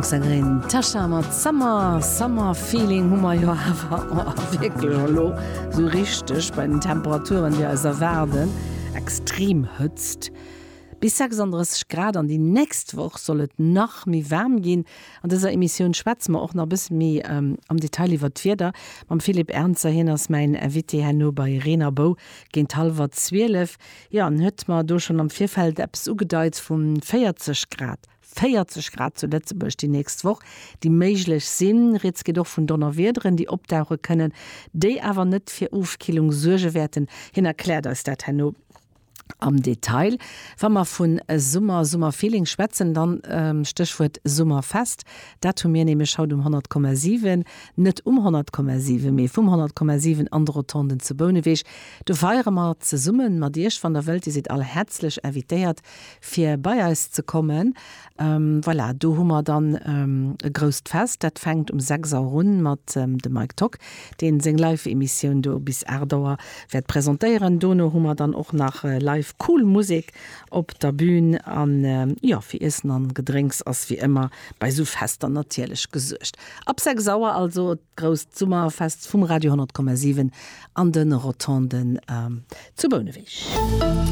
D'Franksängerin Tasha mat Summer, Summer Feeling hu mer jo awer wierklech elo sou richteg bei den Temperaturen, déi eis erwaarden. Extrem Hëtzt, bis 36 Grad an déi nächst Woch soll et nach méi waarm ginn. An dëser Emissioun schwätze mer och nach e bësse méi am Detail iwwer d'Wieder mam Philippe Ernzer. Hien ass mäin Invité herno bei Reen a Bou géint hallwer 12. Jo, en huet mer do schonn am Virfeld eppes ugedeit vu 40 Grad. 40 Grad zu Lëtzebuerg déi nächst Woch, déi méiglech sinn. Rieds geet och vun Donnerwiederen, déi opdauche kënnen, déi awer net fir Ofkillung suerge wäerten. Hien erkläert eis dat herno am Detail. Wa mer vu Summer, Summerfeeling schwätzen, dann Stéchwuert Summerfest. Dat hu mir nämlech haut um 100,7, net um 100,7, mee vum 100,7 an de Rotonden zu Bouneweg. Do feiere mer zesumme mat Iech, wann der wëllt. Dir sidd all häerzlech invitéiert, fir bei eis ze kommen. Voilà, do hu mer dann e grousst Fest. Dat fänkt um 6 Auer un mat dem Mike Tock, deen seng Live-Emissioun do bis 8 Auer wäert presentéieren. Dono hu mer dann och nach live cool Musek op der Bühn. An jo, fir Iessen an Gedrénks ass wéi ëmmer bei sou Fester natierlech gesuergt. Ab 6 Auer also d'grousst Summerfest vum Radio 100,7 an de Rotonden zu Bouneweg.